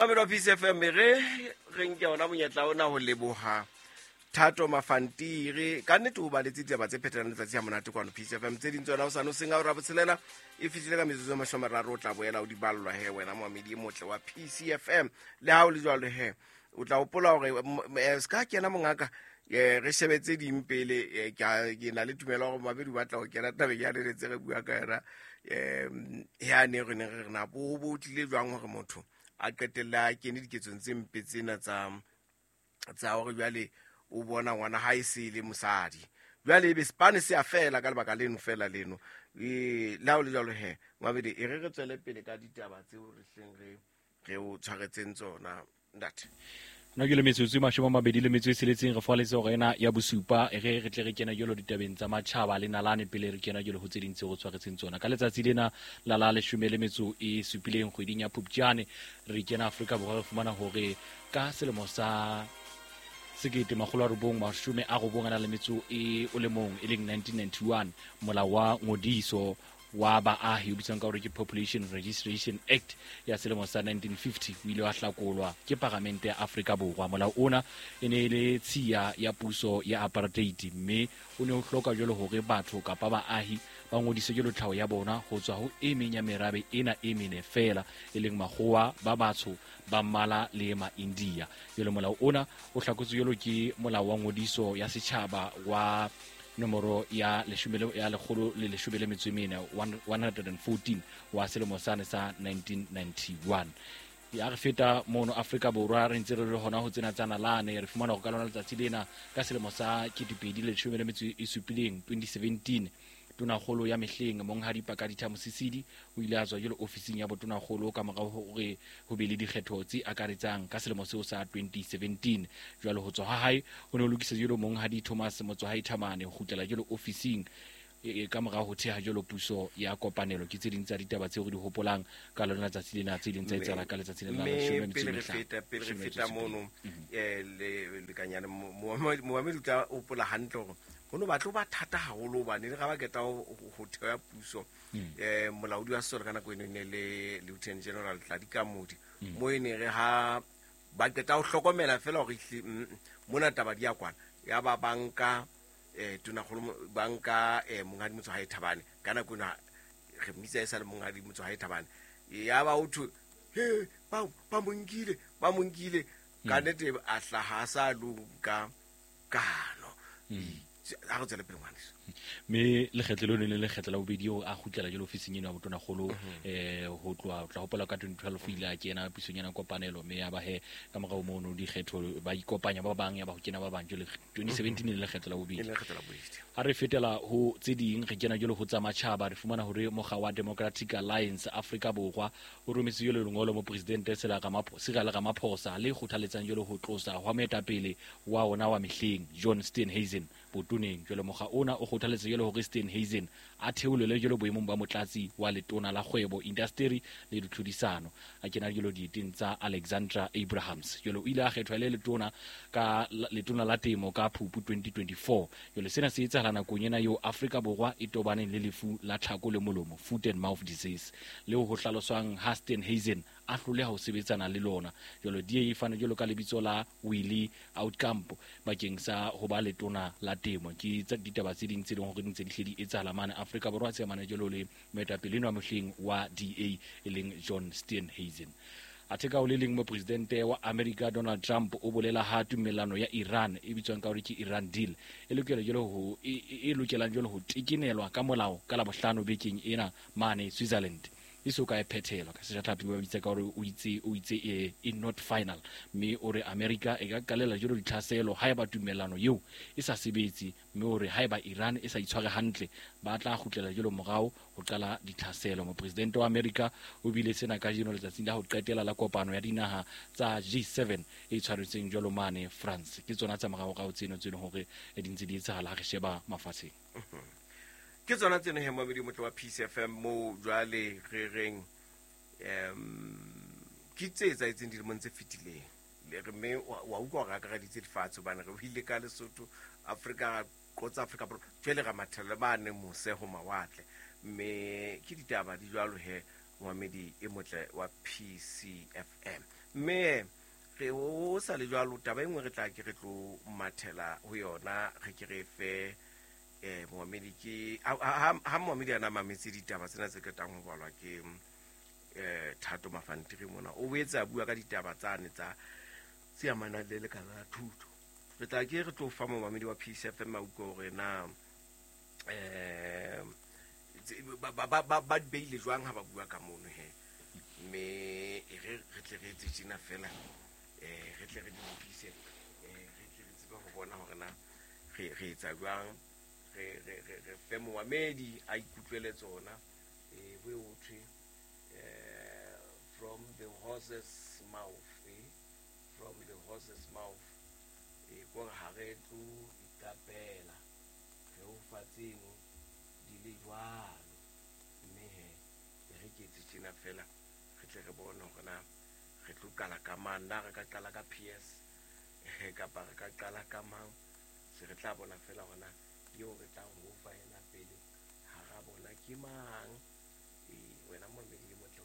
Mamelo wa Peace FM, re re nke ona monyetla ona ho leboha Thato Mafantiri. Ka nnete o baletse ditaba tse phethelang letsatsi ya monate kwano Peace FM. Tse ding tsona o sane o seng a ora botshelela e fihlile ka metsotso e 30, o tla boela o di ballwa he wena moamedi e motle wa Peace FM. Le ha o le jwalo he, o tla hopola hore se ka kena mongaka, re shebe tse ding pele. Ke na le tumelo hore mabedi ba tla ho kena tabeng ya re tse re bua ka yona, ya ne re ne re re na bo bo tlile jwang hore motho a qetelle a kene diketsong tse mpe tsena tsa hore jwale o bona ngwana ha e se le mosadi, jwale ebe sepane se a fela ka lebaka leno fela leno. Le ha o le jwalo he, mabedi, e re re tswele pele ka ditaba tseo re hleng re o tshwaretseng tsona, ntate. Nna ke le metsotso e 26, re faletse hore ena ya bosupa. E re re tle re kena jalo ditabeng tsa matjhaba le nalane pele re kena jalo ho tse ding tseo re tshwaretseng tsona ka letsatsi lena la 17 kgweding ya Phupjane. Re kena Afrika Borwa, re fumana hore ka selemo sa 1991, e leng 1991, molao wa ngodiso wa baahi o bitswang ka hore ke Population Registration Act ya selemo sa 1950 o ile wa hlakolwa ke Paramente ya Afrika Borwa. Molao ona e ne e le tshiya ya puso ya apartheid, mme o ne o hloka jwalo hore batho kapa baahi ba ngodise jwalo tlhaho ya bona ho tswa ho e meng ya merabe ena e mene feela, e leng makgowa, ba batsho, ba mmala le ma-India. Jwale molao ona o hlakotswe jwalo ke molao wa ngodiso ya setjhaba wa nomoro ya ya 114, 114 wa selemo sane sa 1991. Ya re feta mono Afrika Borwa, re ntse re le hona ho tsena tsa nalane, re fumana hore ka lona letsatsi lena ka selemo sa 2017, 2017, tonakgolo ya mehleng Monghadi Pakalitha Mosisili o ile a tswa jalo ofising ya botonakgolo ka morao hore ho be le dikgetho tse akaretsang ka selemo seo sa 2017. Jwalo ho tswa ha hae ho ne ho lokisa jalo Monghadi Thomas Motsoahae Thamane ho kgutlela jalo ofising ka morao ho theha jalo puso ya kopanelo. Ke tse ding tsa ditaba tseo re di hopolang ka lona letsatsi lena, tse ding tsa etsahala ka letsatsi lena la 15. Pele re feta mono, lekanyane moamedi o tla hopola hantle hore ho no batlo ba thata haholo hobane le ga ba keta ho theha puso, molaodi wa sesole ka nako eno e ne le Lieutenant General Tladi Kamodi, mo e ne re ha ba qeta ho hlokomela fela hore mona taba di ya kwana, ya ba banka tonakgolo, banka Monghadi Motsoahae Thabane. Ka nako eno re mmitsa e sa le Monghadi Motsoahae Thabane. Ya ba ho thwe he ba mo nkile, ba mo nkile. Ka nnete a hlaha a sa lo nka kano. A re tswele pele, ngwaneso. Mme lekgetlo leo ne le lekgetlo la bobedi eo a kgutlela jalo ofising eno ya botonakgolo, ho tloha tla hopola ka 2012 ile a kena pusong ena kopanelo, mme ya ba he ka morao mono dikgetho ba ikopanya ba bang, ya ba ho kena ba bang. Jwale 2017 e le lekgetlo la bobedi. E le lekgetlo la bobedi. Ha re fetela ho tse ding, re kena jalo ho tsa matjhaba, re fumana hore mokga wa Democratic Alliance Afrika Borwa o rometse jalo lengolo mo Presidente Cyril Ramaphosa le kgothaletsang jalo ho tlosa hwa moetapele wa ona wa mehleng John Steenhuisen botoneng. Jwale mokga ona o kgothaletsa jalo hore Steenhuisen a theolelwe jalo boemong ba motlatsi wa letona la kgwebo, indasteri le ditlhodisano, a kena jalo dieteng tsa Alexandra Abrahams. Jwale o ile a kgethwa le letona ka letona la temo ka Phupu 2024. Jwale sena se etsahala nakong ena eo Afrika Borwa e tobaneng le lefu la tlhako le molomo, foot and mouth disease, leo ho hlaloswang ha Steenhuisen a hloleha ho sebetsana le lona. Jwale DA e fane jwalo ka lebitso la Willie Aucamp bakeng sa ho ba letona la temo. Ke tsa ditaba tse ding tse leng hore di ntse di hle di etsahala mane Afrika Borwa tse amana jwalo le moetapele enwa mehleng wa DA e leng John Steenhuisen. Athe ka ho le leng, mopresidente wa America Donald Trump o bolela ha tumellano ya Iran e bitswang ka hore ke Iran deal e lokela jwalo ho e lokelang jwalo ho tekenelwa ka molao ka Labohlano bekeng ena mane Switzerland e so ka e phethelwa. Ka sejatlhapi ba bitsa ka hore o itse e not final, mme o re America e ka qalela jwalo ditlhaselo haeba tumellano eo e sa sebetse, mme o re haeba Iran e sa itshware hantle ba tla kgutlela jwalo morao ho qala ditlhaselo. Mopresidente wa America o bile sena kajeno letsatsing la ho qetela la kopano ya dinaha tsa G7 e tshwaretsweng jwalo mane France. Ke tsona tsa moraorao tseno tse leng hore di ntse di etsahala ha re sheba mafatsheng. Ke tsona tseno he, moamedi motle wa Peace FM, moo jwale re reng ke tse etsahetseng dilemong tse fetileng. Le re mme wa utlwa hore akareditse lefatshe hobane re buile ka Lesotho, Afrika, ra qotsa Afrika Borwa, jwale ra mathela mane mose ho mawatle, mme ke ditaba di jwalo he. Momamedi e motle wa PCFM. Mme re o sa le jwalo, taba e nngwe re tla ke re tlo mathela ho yona, re ke re fe momamedi ke ha momamedi ana mametse ditaba tsena tse qetang ho balwa ke Thato Mafantiri mona, o boetse a bua ka ditaba tsane tsa tse amanang le lekala la thuto. Re tla ke re tlo fa momamedi wa PCFM a utlwe hore na ba beile jwang ha ba bua ka mono he. Mme e re re tle re etse tjena fela, re tle re di lokise, re tle re tsebe ho bona hore na re etsa jwang, re fe momamedi a ikutlwele tsona. Ho e ho thwe from the horse's mouth, from the horse's mouth. Kore ha re tlo iqapela, re o fa tseno di le jwalo. Mme he e re ke etse tjena fela, re tle re bone hore na re tlo qala ka mang, na re ka qala ka PS kapa re ka qala ka mang. Se re tla bona fela hore na eo re tlang ho fa yena pele hara bona ke mang. Wena momamedi e motle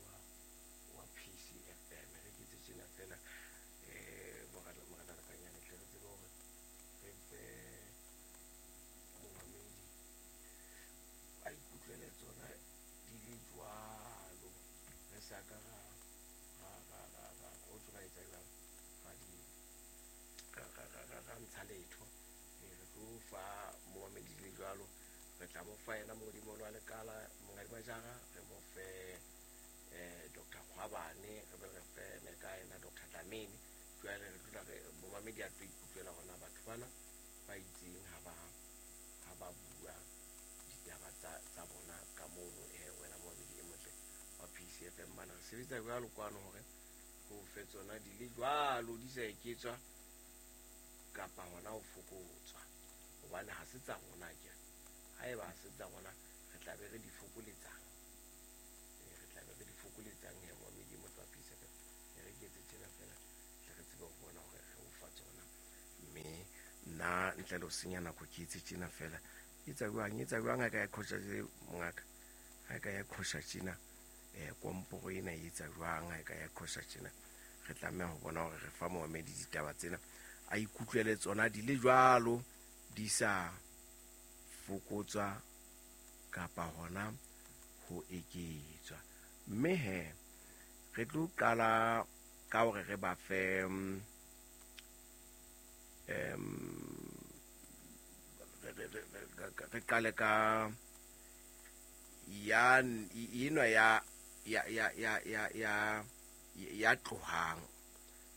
wa PCFM, re ke etse tjena fela, morena Lekanyane, tle re tsebe hore re fe momamedi a ikutlwele tsona di le jwalo, re sa ka ra o tlo ra etsa jwang, ra di ra ntsha letho. Re tlo fa momamedi di le jwalo, re tla mo fa yena modimo wa lekala Monghadi Majara, re mo fe Dr. Kgwabane, re be re fe le ka yena Dr. Dlamini. Jwale re tlo re momamedi a tlo ikutlwela hore na batho bana ba itseng ha ba bua ditaba tsa bona ka mono. Wena momamedi e motle wa PCFM, bana re sebetsa jwalo kwano hore ho fe tsona di le jwalo, di sa eketswa kapa hona ho fokotswa, hobane ha se tsa rona akere. Haeba ha se tsa rona, re tla be re di fokoletsang, re tla be re di fokoletsang he momamedi e motle wa PCFM. Re ke etse tjena fela, tle re tsebe ho bona hore re o fa tsona. Mme nna ntle le ho senya nako ke etse tjena fela. Etsa jwang ha ka ya qhosha mongaka, ha ka ya qhosha tjena, komporo ena e etsa jwang ha ka ya qhosha tjena. Re tlameha ho bona hore re fa momamedi ditaba tsena a ikutlwele tsona di le jwalo, di sa fokotswa kapa hona ho eketswa. Mme he re tlo qala ka hore re ba fe re qale ka ya enwa ya ya ya ya ya ya ya tlohang.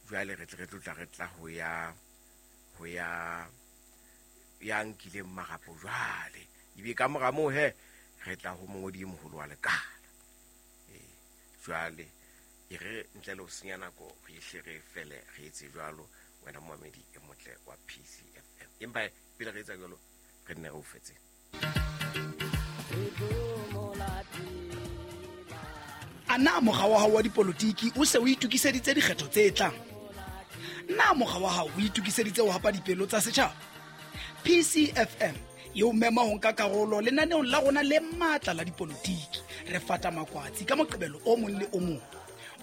Jwale re tle re tlo tla re tla ho ya ya nkileng marapo jwale. Ebe ka mora moo he re tla ho mongodi e moholo wa lekala. Jwale e re ntle le ho senya nako, re hle re fele re etse jwalo, wena momamedi e motle wa PCFM. Empa pele re etsa jwalo, re nne re o fetse. A na mokga wa hao wa dipolotiki o se o itokiseditse dikgetho tse tlang? Na mokga wa hao o itokiseditse ho hapa dipelo tsa setjhaba? PCFM e o mema ho nka karolo lenaneong la rona le matla la dipolotiki. Re fata makwatsi ka Moqebelo o mong le o mong.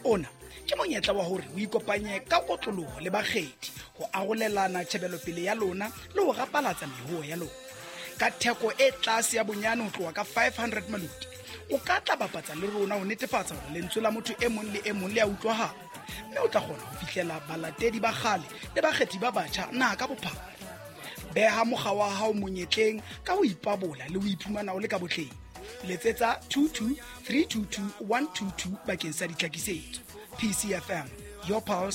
Ona ke monyetla wa hore o ikopanye ka kotloloho le bakgethi, ho arolelana tjhebelopele ya lona le ho rapalatsa mehoo ya lona. Ka theko e tlase ya bonyane ho tloha ka 500 maloti, o ka tla bapatsa le rona ho netefatsa hore lentswe la motho e mong le e mong le a utlwahala, mme o tla kgona ho fihlela balatedi ba kgale le bakgethi ba batjha naha ka bophara. Beha mokga wa hao monyetleng ka ho ipabola le ho iphumana o le ka botleng. Letsetsa 22 322 122 bakeng sa ditlhakisetso. PCFM, your pulse.